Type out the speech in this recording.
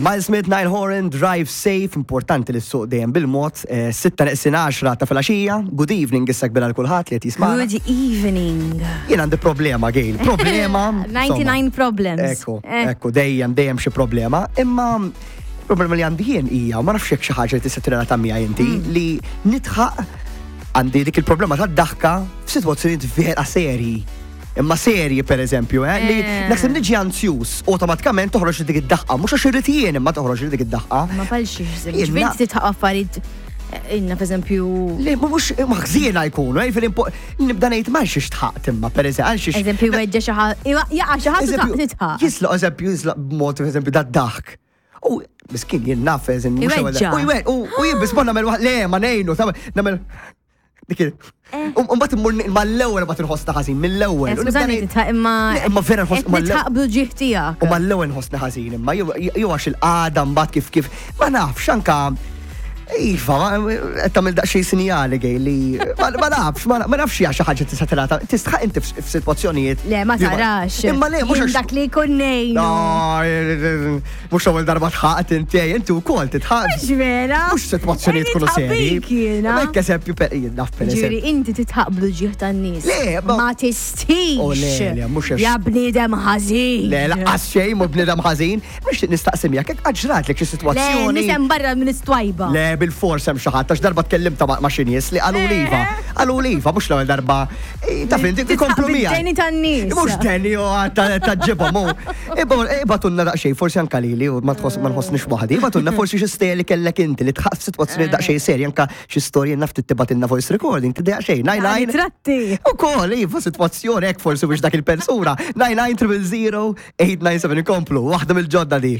Miles Smith, Nile Horan, Drive Safe, importanti li ssuq dejjem bil-mod, eh, sitta neqsin 10 ta' filgħaxija, good evening issa kbira l kulħadd li qed jismagħna. Good evening. Jien għandi problema, Gail, problema. 99 problems. Ekku, eh. ekku, dejjem, dejjem xi problema, imma problema li għandi jien hija, ma nafx jekk xi ħaġa li tista' tirrelata miegħi inti, mm. li nitħaq għandi dik il-problema tad-daħka f'sitwazzjonijiet vera serji. Imma serji per eżempju, eh, li eh. naħseb niġi anzjuż, automatikament toħroġ dik id-daħqa, mhux għax irrid jien imma toħroġ dik id-daħqa. Ma palxiex, ġvinti titħaq affarijiet eh, inna per eżempju. Le, mhux maħżiena jkunu, eh, fil nibda ngħid ma xiex tħaqt imma per eżempju, għal xiex. Eżempju weġġa xi ħadd, jaqa' xi ħadd titħaq. Jisloq eżempju jisloq b'mod eżempju dad-daħk. U miskin jien naf eżempju. U jien biss ma nagħmel le ma ngħinu, nagħmel Dik eh. Umbat immur mal-ewwel ma tinħossna ħażin, mill-ewwel. Eh, skużani titħaq imma. Imma vera nħoss mal-ewwel. Titħaq bl-ġieħ tiegħek. U mal-ewwel nħossna ħażin imma jew għax il-qagħda mbagħad kif kif ma nafx anka Iva, qed tagħmel daqsxejn sinjali gej li ma nafx, ma nafx hija xi ħaġa tista' tingħata. Tistħaq inti f'sitwazzjonijiet. Le, ma tarax. Imma le, mhux dak li jkun ngħinu. Mhux l-ewwel darba tħaqt inti, inti wkoll titħaq. Mhux vera. Mhux sitwazzjonijiet tkunu seri. Hekk eżempju per naf per eżempju. Inti titħaq bl-ġieħ tan-nies. Le, ma tistix. Oh, le, le, mhux Ja bniedem ħażin. Le, laqqas xejn mhu bniedem ħażin. Nixtieq nistaqsi miegħek hekk qatt ġratlek xi sitwazzjoni. Le, nisem barra minn istwajba. Le, bil-fors hemm xi ħadd għax darba tkellimta ma' xi nies li qalu li iva. Qalu li iva, mhux l-ewwel darba. Taf inti ikomplu miegħi. Deni tan-nies. Mhux deni u ta' ġibhom. Ibatunna daqsxejn, forsi anka lili u ma tħoss ma nħossnix waħdi, ibatunna forsi xi stejjer li kellek inti li tħaq f'sitwazzjoni eh. daqsxejn serja anka xi storja naf tibgħatilna voice recording, tidejaq xejn. 99 Tratti. Ukoll iva sitwazzjoni hekk forsi biex dak il-persuna. 99 000 897 ikomplu, waħda mill-ġodda di.